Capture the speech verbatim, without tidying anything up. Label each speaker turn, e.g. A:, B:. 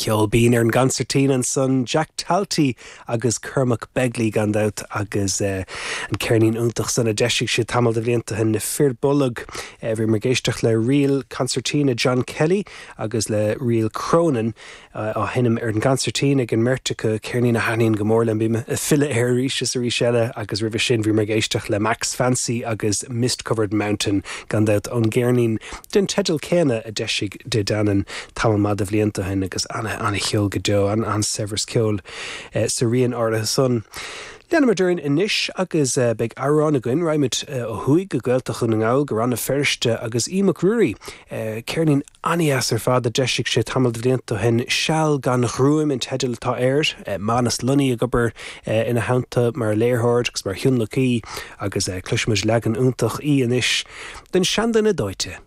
A: Ceol binn ar an gconsairtín ansan Jack Talty agus Cormac Begley gan dabht agus uh, an ceirnín iontach san a d'eisigh siad tamall de bhlianta ó shin na Fir Bolg uh, bhí muid ag éisteacht le ríl concertina John Kelly agus le ríl Cronin uh, á sheinm ar an gconsairtín ag an mbeirt acu ceirnín a thaitníonn go mór liom bím ag filleadh air arís is arís eile agus roimhe sin bhí muid ag éisteacht le Max Fancy agus Mist Covered Mountain gan dabht ón gceirnín den teideal céanna a d'eisigh De Danann tamall maith de bhlianta ó shin agus ana an-cheol go deo an an-saibhreas ceoil eh, sa rian áirithe san. Leanfaimid orainn anois agus uh, beidh amhrán againn raghaimid uh, ó thuaidh go Gaeltacht Dhún na nGall go Rann na Feirste agus Aodh Mac Ruairí uh, ceirnín an-deas ar fad a d'eisigh sé tamall de bhlianta ó shin seal gan ghruaim an teideal atá air, uh, Manus Lunny ag obair uh, ina theannta mar léiritheoir agus mar thionlacaí agus uh, cloisfimid leagan iontach í anois den seanduine dóite.